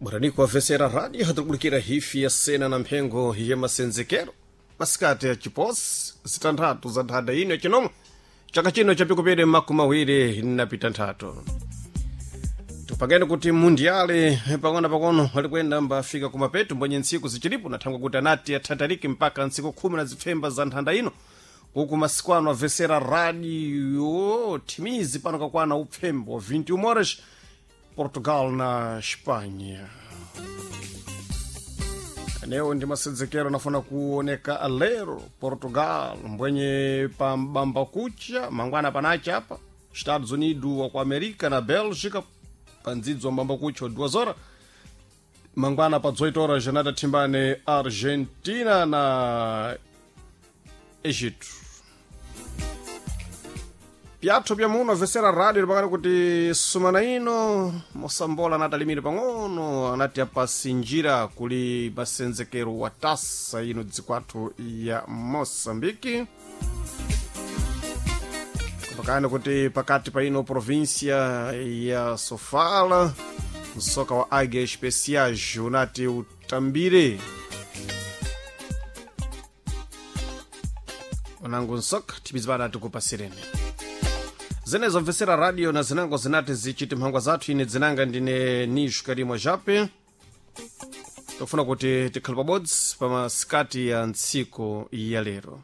Bwaraniko avesera rádio hatikubulikira hifi ya sena na mphengo ya masenzekero masikati ya chiposi zitanthatu za nthanda ino yachinomwe chaka chino chapikupere 2023. Tupangeni kuti mundiale pang'ono pang'ono alikwenda mbafika kumapeto mbwenye ntsiku zichilipo nathangwa kuti anati athatalike mpaka ntsiku 10 na zipfemba za nthanda ino kuku masiku ano avesera radio thimizi pano kakwana upfembo 21 horas Portugal na Espanha. Leo ndi masenzekero anafuna kuoneka lero Portugal mbwenye pambamba kucha mangwana panacha apa Estados Unidos wa ku America na Bélgica pandzidzo mbamba kucha 2 horas mangwana pa 18 horas janata thimbane Argentina na Egito. Pyatho pya muno avesera radio lipakati kuti sumana ino mosambola anati alimire pang'ono anati apasinjira kuli masenzekero wa tasa ino dzikwathu ya Moçambique kupakani kuti pakati pa ino província ya Sofala msoka wa Águia Especiais unati utambire unangu nsoka tipizipana tikupasireni zenezo mvesera radio na zinango zinati zichiti mphangwa zathu. Ine dzinanga ndine Nisho Karimwa Jape. Tofuna kuti tikhale pabodzi pa masikati ya ntsiku ya lero.